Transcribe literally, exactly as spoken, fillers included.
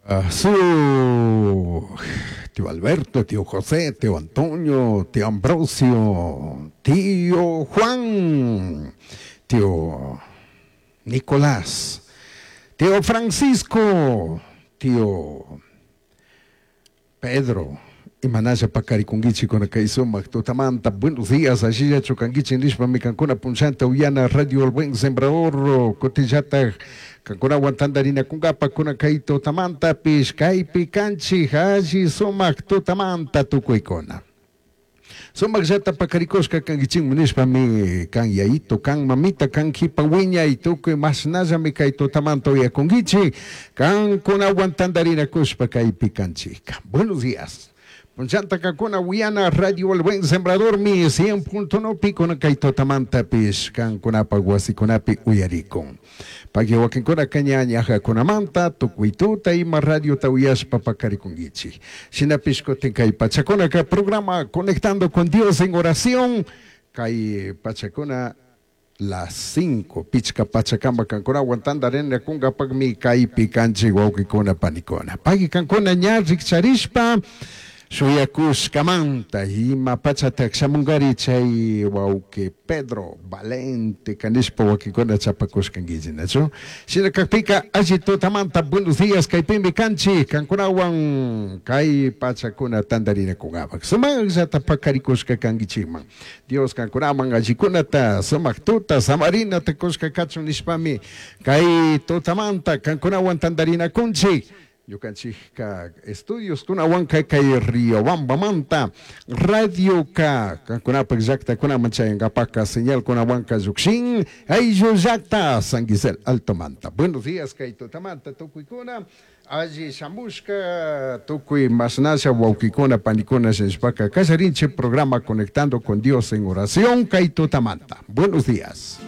Uh, su tío Alberto, tío José, tío Antonio, tío Ambrosio, tío Juan, tío Nicolás, tío Francisco, tío Pedro, imanalla paqarikunkichik kay sumaq tutamanta. Buenos días, allillachu kankichik nishpami kankuna punllanta uyana Radio El Buen Sembrador kutinllatak kankunawan tantarinakunkapa kuna kay tutamantapish kaypi kanchik alli sumaq tutamanta tukuykuna. Sumaqllata paqarikushka kankichikmi nishpami kan yayito, kan mamita, kan kipa wiñay tukuy mashnallami kay tutamanta uyakunkichik kankunawan tantarinakushpa kaypi kanchikka. Buenos días. Punchanta kankuna uyana Radio El Buen Sembrador mi cien punto uno kuna kay tutamantapish kankunapa wasikunapi uyarikun. Paki wakinkuna kaña ñajakunamanta tukuy tuta ima radiota uyashpa paqarikunkichik. Shinapish kutin kay pachakunaka programa Conectando con Dios en Oración kay pachakuna las cinco pichka pachakama kankunawan tantarinakunkapakmi kaypi kanchik wawqikuna panikuna. Paki kankuna ña rikcharishpa shuyakushkamanta ima pachatak shamunkari chay wawqi Pedro Valente kanishpa wakinkuna chapakushkankichik, nachu? Shina kakpika alli tutamanta buenos días kaypimi kanchik kankunawan kay pachakuna tantarinakunkapak. Sumaqllata paqarikushka kankichikman. Dios kankunaman allikunata sumaq tuta samarinata kushka kachun nishpami kay tutamanta kankunawan tantarinakunchik. Ñukanchikka estudios kunawanka kay Riobambamanta Radio ka kankunapak llaktakunaman chayankapaka señal kunawanka llukshin ayllu llakta San Gisel Altomanta. Buenos días kay tutamanta tukuykuna alli shamushka tukuy mashnasha wawqikuna panikuna shinashpaka kallarinchik programa Conectando con Dios en Oración kay tutamanta. Buenos días.